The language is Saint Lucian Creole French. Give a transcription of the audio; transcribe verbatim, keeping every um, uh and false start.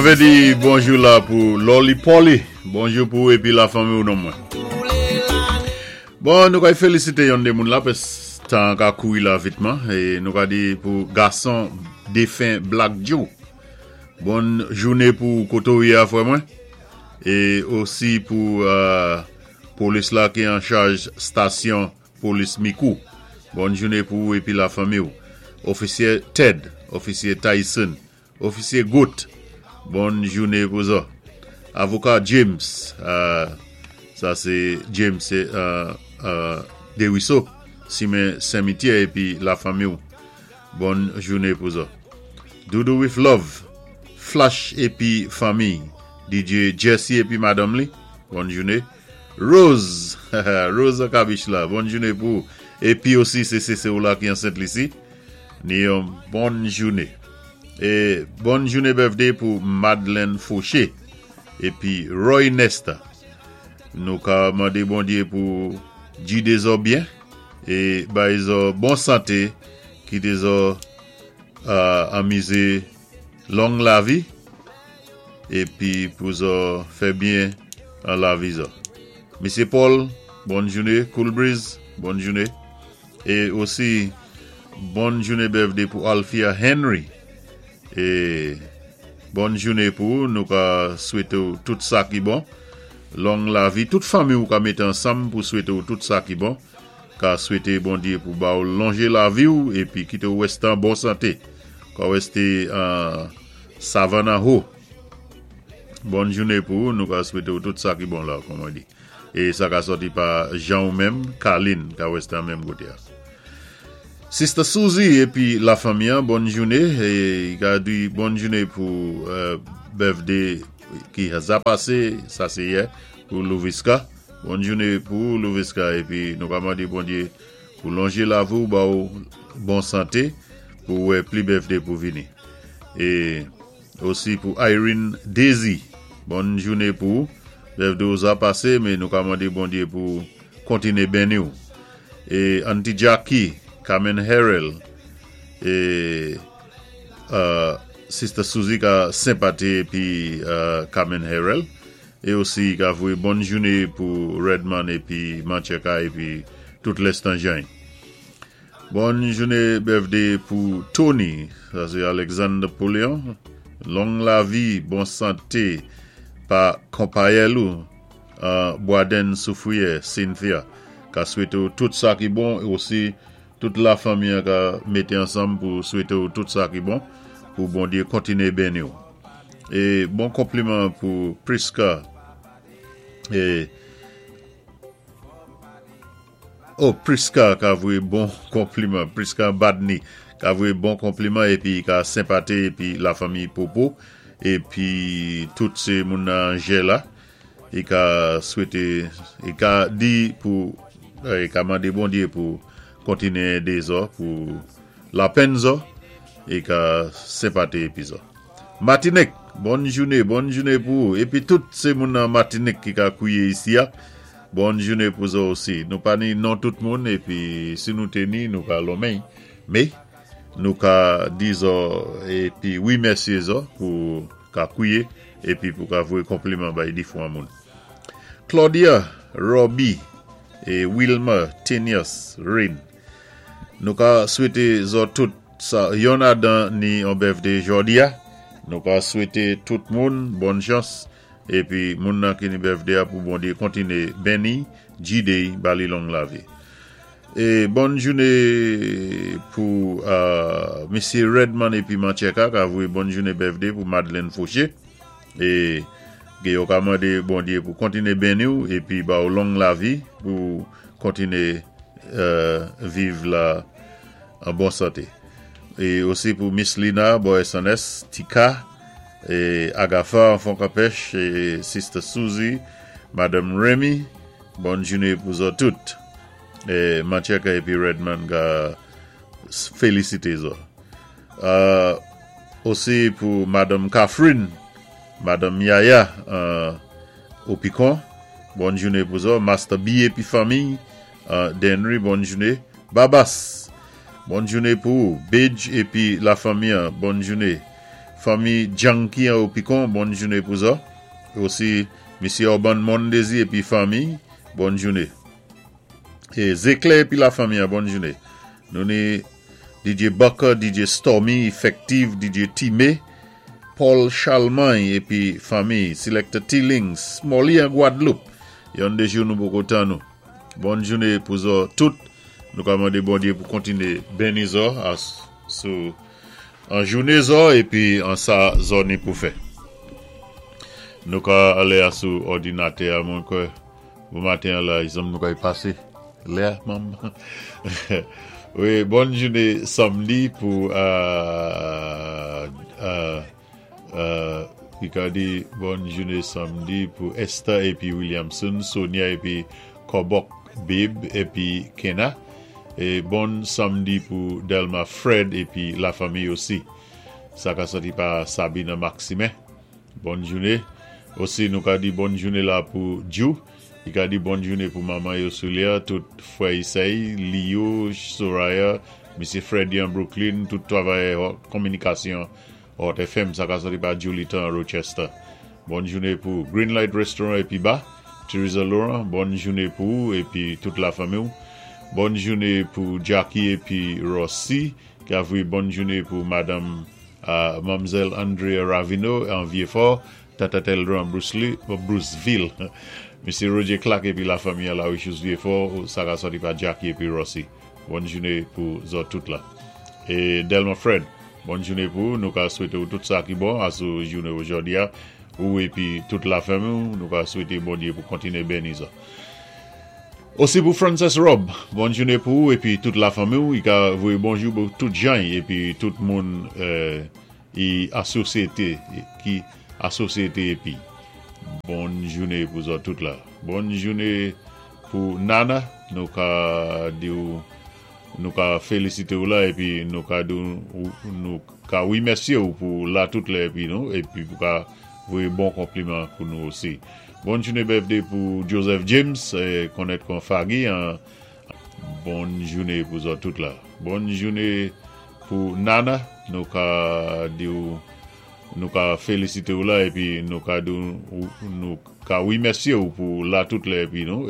Mwen di bonjou la pou Loli Poli. Bonjou pou épi la fanmi ou non mwen. Bon, nou ka félisité yon dé moun la pis tan ka kouri la vitman é nou ka di pou gason défen Black Joe. Bòn jouné pou koté ou yé a frè mwen. É osi pou euh, polis la ki an chaj stasyon polis Micoud. Bòn jouné pou ou épi la fanmi ou. Ofisyé Ted, ofisyé Tyson, ofisyé Gout. Bòn jouné pou zòt. Avoka James, euh, sa sé James sé euh, euh, Desruisseaux, Simen Saint-Mitier épi la fanmi ou. Bòn jouné pou zòt. Doudou with Love, Flash épi fanmi, D J Jesse épi madanm li. Bòn jouné. Rose, Rose Kabich la, bòn jouné pou épi osi sé sé ou la ki an Sent-Lisi. Ni yon bòn jouné. É bòn jouné birthday pou Madeleine Fauché épi Roy Nesta. Nou ka mandé Bondyé pou gidé zòt byen é bay zòt bon santé, kité zòt euh, anmizé long lavi épi pou zòt fè byen an lavi zòt. Misyé Paul, bòn jouné, Cool Breeze, bòn jouné. É osi bòn jouné birthday pou Althea Henry. É bòn jouné pou nou ka swété tout sa ki bon. Long lavi, tout fanmi ou ka mété ansanm pou swété tout sa ki bon. Ka swété Bondyé pou ba ou lonjé lavi ou épi kité ou wèsté an bon santé. Ka wèsté an Savannah Ho. Bòn jouné pou nou ka swété tout sa ki bon la, kòm on di. É sa ka sòti pa Jean ou menm, Kaline, ka wèsté an menm koté. Sister Suzy épi la fanmi, bòn jouné é ka di bòn jouné pou euh, birthday ki za pasé, sa sé yè, pou Louviska. Bòn jouné pou Louviska épi nou ka mandé Bondyé pou lonjé lavi ou ba ou bon santé pou wè pli birthday pou vini. É osi pou Irene Daisy, bòn jouné pou birthday ou za pasé, men nou ka mandé Bondyé pou kontiné béni ou. É Auntie Jackie, Carmen Harrell é euh, Sister Suzy ka senpati épi euh, Carmen Harrell é osi ka voyé bòn jouné pou Redman épi Mancheka épi tout lèstanjay. Bòn jouné birthday pou Tony, sa sé Alexander Paulian. Long lavi, bon santé pa konpayèl ou euh, Boisden Soufrière, Cynthia. Ka swété tout sa ki bon é osi tout la fanmi ka mété ansanm pou swété tout sa ki bon pou Bondyé kontiné béni ou. É bon konpliman pou Priska é oh, Priska ka voyé bon konpliman. Priska Badney ka voyé bon konpliman épi ka senpati épi la fanmi Popo épi tout sé moun nan la é ka swété é ka di pou é ka mandé Bondyé pou kontiné édé zòt pou lapenn zòt é ka senpati épi zòt. Matinik, bòn jouné, bòn jouné pou épi tout sé moun nan Matinik ki ka kouyé isi a. Bòn jouné pou zòt osi. Nou pa ni non tout moun épi si nou té ni nou ka lonmen. Men nou ka di zòt épi wimèsyé zòt pou ka kouyé épi pou ka voyé konpliman bay difwan moun. Claudia, Robbie é Wilma Tenius Rain. Nou ka swété zòt tout sa yon adan ni an birthday jòdi a. Nou ka swété tout moun bòn chans épi moun nan ki ni birthday a pou Bondyé kontiné béni, gidé ba li long lavi. É bòn jouné pou euh, Misyé Redman épi Mancheka ka voyé bòn jouné birthday pou Madeleine Fauché é ke yo ka mandé Bondyé pou kontiné béni ou épi ba ou long lavi pou kontiné euh, viv la an bon santé. É osi pou Miss Lina, Boy S N S, Tika, é Agatha, Enfant Capèche, é Sister Suzy, Madame Remy, bòn jouné pou zòt tout. É Mancheka épi Redman ka félisité zòt. Euh, osi pou Madame Catherine, Madame Yaya, euh, au Picon, bòn jouné pou zòt. Master B épi fanmi, euh, Denry, bòn jouné. Babas, bòn jouné pou Bidge épi la fanmi, bòn jouné. Fanmi Janky an Opikon, bòn jouné pou zòt. Osi, Misyé Orban Mondesi épi fanmi, bòn jouné. É Zéklè épi la fanmi, bòn jouné. Nou ni D J Bucker, D J Stormy, Effective, D J Timé, Paul Charlemagne épi fanmi, Selector T-Links, Smolly an Gwadloup. Yon dé jou nou poko tann nou. Bòn jouné pou zòt tout. Nou ka mandé Bondyé pou kontiné béni zòt sou an jouné zòt épi an sa zòt ni pou fè. Nou ka alé sou òdinatè a mwen kwè bon maten la, zanm nou ka y pasé. Lè, manm. Wi, bòn jouné samdi pou euh, euh, euh, i ka di bòn jouné samdi pou Esther épi Williamson, Sonia épi Kobok Bib épi Kena. É bon samdi pou Delma Fred épi la fanmi osi. Sa ka sòti pa Sabine Maximin. Bòn jouné. Osi nou ka di bòn jouné la pou Jou. I ka di bòn jouné pou manman Yosulia, tout fwè i sè i, Leo, Soraya, Misyé Freddy an Brooklyn, tout travayè kominikasyon Hot F M, sa ka sòti pa Julie Tan Rochester. Bòn jouné pou Greenlight Restaurant épi Bar, Teresa Laurent, bòn jouné pou épi tout la fanmi. Bòn jouné pou Jackie épi Rossi, ki a voyé bòn jouné pou Madame euh, Mamzèl Andrea Ravino an Vieux-Fort, Tata Teldran Bruce Lee, Bruceville. Misyé Roger Clark épi la fanmi à la Richus Vieux-Fort, sa ka sòti pa Jackie épi Rossi. Bòn jouné pou zòt tout la. É Delma Fred, bòn jouné pou nou ka swété tout sa ki bon asou jouné òjòdi a, ou épi tout la fanmi, nou ka swété Bondyé pou kontiné béni sa. Osi pou Frances Rob, bòn jouné pou ou épi tout la fanmi, i ka voyé bonjou pou tout jan épi tout moun euh, i asosyété ki asosyété épi bòn jouné pou zòt tout la. Bòn jouné pou Nana, nou ka di nou ka félisité ou la épi nou ka di nou ka wimèsyé ou pou la tout la épi nou épi pou ka voyé bon konpliman pou nou osi. Bòn jouné birthday pou Joseph James, konnèt kon Fagi, bòn jouné pou zòt tout la. Bòn jouné pou Nana, nou ka di nou ka félisité ou la épi nou ka di nou ka wimèsyé ou pou la tout la épi nou